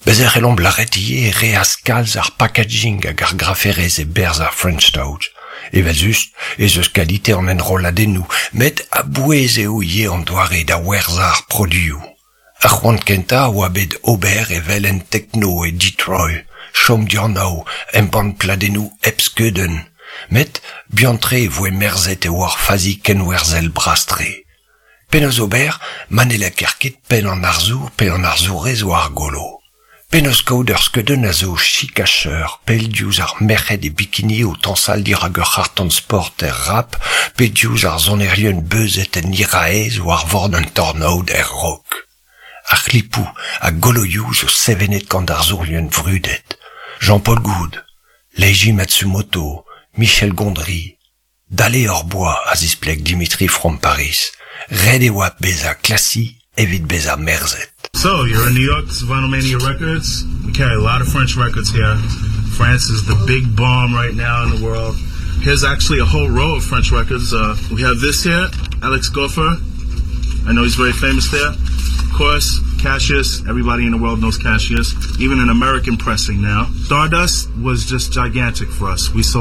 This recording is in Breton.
Bez' e c'hellomp lâret ivez e reas kalz ar packaging hag ar graferezh e-berzh ar French Touch. Evel-just ez eus kalite an enrolladennoù, met a-bouez eo ivez an doare da werzhañ ar produioù. Ar c'hoant kentañ a oa bet ober evel en tekno e Detroit, chom dianav, embann pladennoù hep skeudenn. Met buan-tre e voe merzet e oa ur fazi kenwerzhel bras-tre. Penaos ober ma ne lakaer ket penn an arzour pe an arzourez war ar golo? Penaos kaout ur skeudenn a zo chikacheur, pell diouzh ar merc'hed e bikini o tañsal dirak ur c'harr-tan sport er rap pe diouzh ar sonerien beuzet en hiraez war vord un tornaod er rock? Ar c'hlipoù ha goloioù zo sevenet gant arzourien vrudet, Jean-Paul Goud, Leiji Matsumoto, Michel Gondry, Dale hor boa, a zispleg Dimitri from Paris. Ret e oa bezañ classy evit bezañ merzet. So, you're in New York, this is Vinyl Mania Records. We carry a lot of French records here. France is the big bomb right now in the world. Here's actually a whole row of French records. Uh, we have this here, Alex Goffer. I know he's very famous there. Of course, Cassius. Everybody in the world knows Cassius. Even an American pressing now. Stardust was just gigantic for us. We sold.